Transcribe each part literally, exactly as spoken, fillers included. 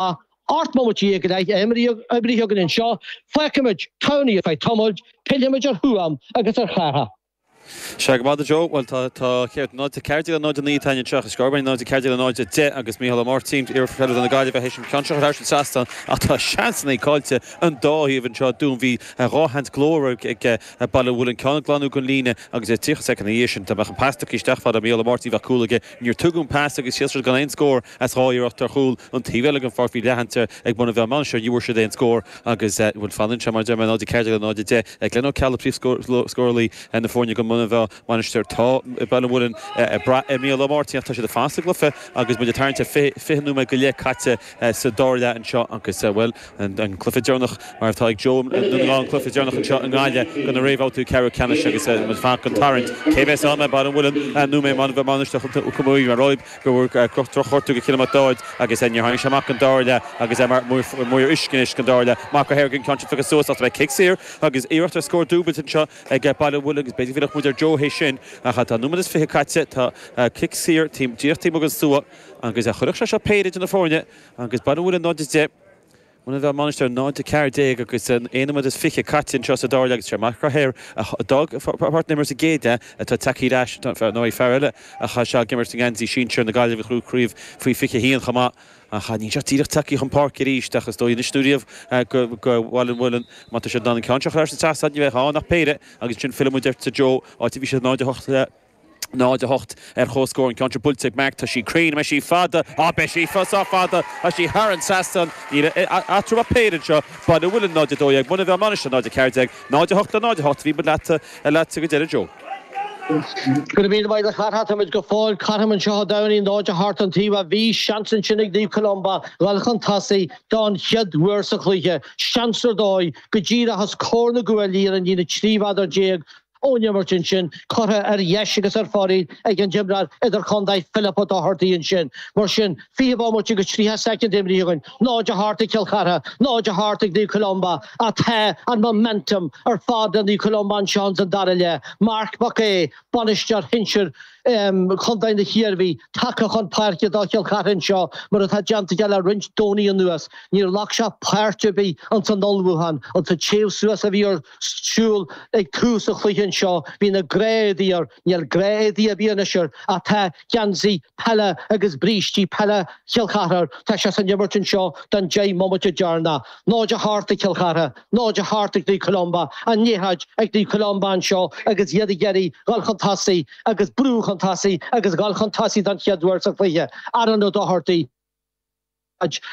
Ocht mbomaite déag go leith imrithe againn anseo, fágfaimid Tamhnaí ar feadh tamaill, pillfimid ar Thuaim agus ar Chárthach. Sea, go maith Joe, bhuel tá tá céard náid a ceathair déag le náid a naoi atá anseo agus scór náid a ceathair déag le náid a deich agus Mícheál Ó Máirtín iarpheileadóir na Gaillimhe théis an ceann seo thar an trasnán ach tá seansanna caillte an dá thaobh anseo dún bhí dhá sheans glórmhar ag Baile an Mhuilinn ceann ag glanadh den líne agus tríocha soicind ina dhiaidh sin dá mbeadh an pas tugtha isteach fada Mícheál Ó Máirtín bheadh cúl aige níor tugadh an pas agus sheas siad gan aon scór as dhá iarracht ar chúl an taobh eile den pháirc bhí leathsheans ag Muine Mheá Mainistir ní bhfuair siad aon scór agus bhuel fanann sé mar deir mé náid a ceathair déag le náid a deich Glenn Ó Ceallaigh príomhscórálaí na foirne go Muine Mheá Mainistir tá Baile an Mhuilinn ag brath ar Mícheál Ó Máirtín ach tá siad ag fanacht sa gcluiche agus muid ag tarraingt ar fiche nóiméad go leith caite sa dara leath anseo agus bhuel an cluiche deireanach mar atá ag Joe an cluiche deireanach anseo i nGaillimh do na réamhbhabhtaí ceathrú ceannais agus muid fanacht don tarraingt cé bheas ann Baile an Mhuilinn nó Muine Mheá Mainistir Chontae mar roimh go bhfuair drochghortú go Cillian Mac Dáid agus níor tháinig sé amach an dara leath agus é mar maor uisce anois don dara leath Marc Ó hEirgin ceann sin faighte suas ach tá cic saor agus iarracht ar scór dúbailte anseo ag Baile an Mhuilinn agus b'fhéidir go bhfillfeadh muid ar Joe é sin ach tá nóiméad is fiche caite tá cic saor díreach taobh amuigh den stua agus chuirfeadh sé seo péire de na foirne agus Baile an Mhuilinn náid a deich Muine Mheá Mainistir náid a ceathair déag agus aon nóiméad is fiche caite anseo sa dara leath agus sé Marc Ó hEir a d'fhág páirc na himeartha sa gcéad leath atá tagtha ar ais nó fear eile a chaith seal ag imirt i ngeansaí sinsir na Gaillimhe a craobh faoi fiche haon chomh maith ach níl sé díreach tagtha chun páirce arís ach is dóigh anois nó riamh go go Bhaile an Mhuilinn má tá siad in ann an ceann seo a chur sa trasnán ní bheadh ann ach péire agus sin fillfidh muid ar Joe áit a bhí siad náid a hocht náid a hocht ar chomhscór an ceann seo buailte ag Mark tá sí cruinn beidh sí fada á beidh sí sách fada tá sí thar an trasnán níl eatarthu ach péire anseo Baile an Mhuilinn náid a dó dhéag Muine Mheá Mainistir náid a ceathair déag náid a hocht le náid a hocht bhí muid leat leat go deireadh Joe. Go raibh míle maith agat a Chárthaigh táimid go fóill cothrom anseo i dTamhnaí náid a hocht an taobh a bhí seans ansin ag Naomh Columba dhul chun tosaigh don chéad uair sa chluiche seans ar dóigh go díreach os comhair na gcuaillí ar an líne trí mhéadar déag ón imirt ansin curtha ar dheis agus ar foraíl ag an imreoir idirchontae Philip Ó Dochartaigh ansin. Mar sin fiche bomaite agus tríocha soicind imrithe againn, náid a hocht ag Cill Chartha, náid a hocht ag Naomh Columba ach tá an momentum ar fad le Naomh Columba anseo san dara leath. Marc Mac Aodha, bainisteoir shinsir Chontae na hIarmhí, tagtha chun páirce do Chill Chartha anseo mar atá déanta aige le roinnt Domhnaí anuas. Níor ghlac sé páirt ar bith ins an ullmhúchán, an téamh suas a bhí ar siúl ag tús an chluiche anseo, bhí na gnáth-éadaí air, níl gnáth-éadaí ar bith anois air ach tá geansaí peile agus brístí peile Chill Chartha air. Tá sé san imirt anseo don deich mbomaite deireanach. Náid a hocht ag Cill Chartha, náid a hocht ag Naomh Columba, an liathróid ag Naomh Columba anseo agus iad ag iarraidh dhul chun tosaigh agus brú chun tosaigh agus dhul chun tosaigh don chéad uair sa chluiche. Aaron Ó Dochartaigh.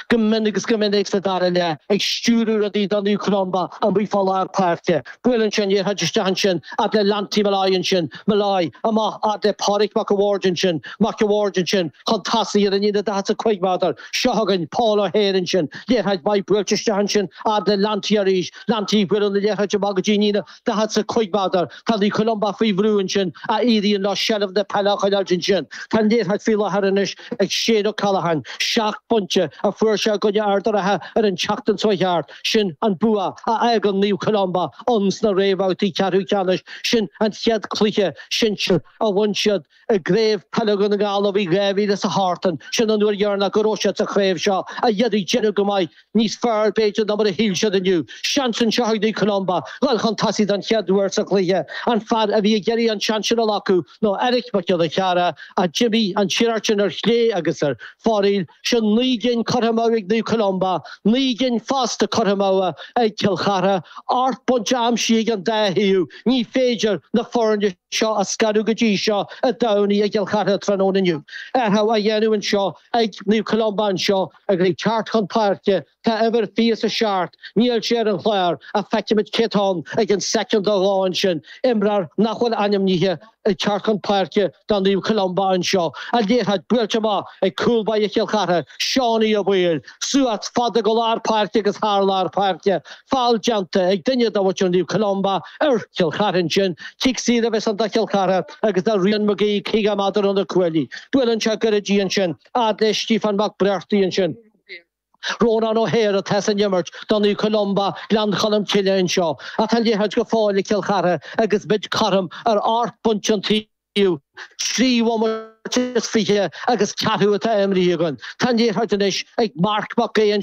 Go min agus go minic sa dara leath ag stiúradh rudaí do Naomh Columba amuigh fá lár páirce. Buaileann sé an liathróid isteach ansin fhad le Lanty Molloy ansin, Molloy amach fhad le Pádraig Mac a' Bhaird ansin, Mac a' Bhaird ansin chun tosaigh ar an líne daichead is a cúig méadar. Seo chugainn Paul O'Hare ansin, liathróid mhaith buailte isteach ansin fhad le Lanty arís, Lanty buaileann an liathróid amach go dtí an líne daichead is a cúig méadar. Tá Naomh Columba faoi bhrú ansin ach éiríonn leo seilbh na peile a choinneáil ansin. Tá an liathróid faoi láthair anois ag Shane O'Callaghan, seacht bpointe a fuair sé i gcoinne Ard an Rátha ar an tseachtain seo thart. Sin an bua a fhágann Naomh Columba ann sna réamhbhabhtaí ceathrú ceannais. Sin an chéad chluiche sinsir a bhain siad i gcraobh peile Dhún na nGall ó bhí dhá mhíle is a hocht ann. Sin an uair dheireanach go raibh siad sa chraobh seo a iarraidh déanamh go maith níos fearr b'fhéidir ná mar a shíl siad inniu. Seans anseo ag Naomh Columba dhul chun tosaigh don chéad uair sa chluiche. An fear a bhí ag iarraidh an seans sin a ghlacadh ná Eric Mac Giolla Chearra a d'imigh an iarracht sin ar chlé agus ar foraíl. Sin naoi gcinn curtha amú ag Naomh Columba, naoi gcinn fosta curtha amú ag Cill Chartha. Ocht bpointe aimsithe ag an dá thaobh. Ní féidir na foirne seo a scaradh go dtí seo i dTamhnaí i gCill Chartha tráthnóna inniu. Athrú á dhéanamh anseo ag Naomh Columba anseo agus ag teacht chun páirce tá uimhir fiche is a seacht, níl sé ar an chlár ach feicimid cé atá ann ag an soicind nó dhó ansin, imreoir nach bhfuil ainmnithe ag teacht chun páirce do Naomh Columba anseo. An liathróid buailte amach ag cúl báire Chill Chartha, Seánie Ó Baoill, suas fada go lár páirce agus thar lár páirce, feall déanta ag duine de mhuintir Naomh Columba ar Chill Chartha ansin, cic saor a bheas ann do Chill Chartha agus do Rian McGee caoga méadar ó na cuaillí. Buaileann sé gairid í ansin, fhad le Stiofán Mac Breartaigh ansin. Rónán O'Hare atá san imirt do Naomh Columba Gleann Cholm Cille anseo. Ach tá an liathróid go fóill ag Cill Chartha agus muid cothrom ar ocht bpointe an taobh, trí bhomaite is fiche agus ceathrú atá imeartha againn. Tá an liathróid anois ag Marc Mac Aodha.